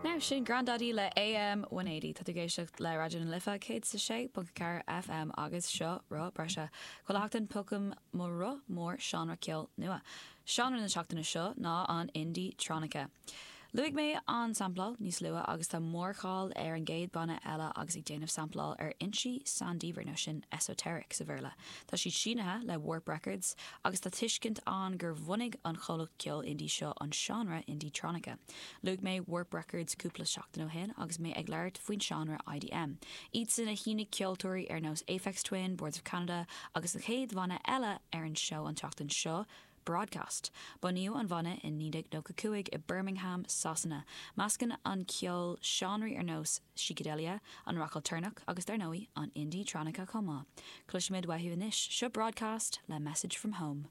Now sin Grandaddy le AM 180. Tá tú ag éisteacht le Raidió na Life 106.4 FM agus seo Roth Breise. Chuile sheachtain piocaim mo roth mór seánra ceoil nua. Seánra na seachtaine seo ná an indie-tronica. Luaigh mé an sampláil níos luaithe agus tá mórcháil ar an gcéad banna eile agus ag déanamh sampláil ar fhoinsí saindiamhair, nó sin esoteric sa Bhéarla. Tá siad sínithe le Warp Records agus tá tuiscint ann gur bhunaigh an chomhlacht ceoil indie seo an seánra indie-tronica. Luaigh mé Warp Records cúpla seachtain ó shin agus mé ag labhairt faoin seánra IDM. Iadsan a shínigh ceoltóirí ar nós Aphex Twin, Boards of Canada agus an chéad bhanna eile ar an seó an tseachtain seo, Broadcast. Bunaíodh an bhanna i 1995 i Birmingham, Sasana. Meascann an ceol seánraí ar nós sícideilia, an rac ailtéarnach agus dar ndóigh, an indie-tronica chomh maith. Cloisfimid uathu anois. Seo Broadcast le Message From Home.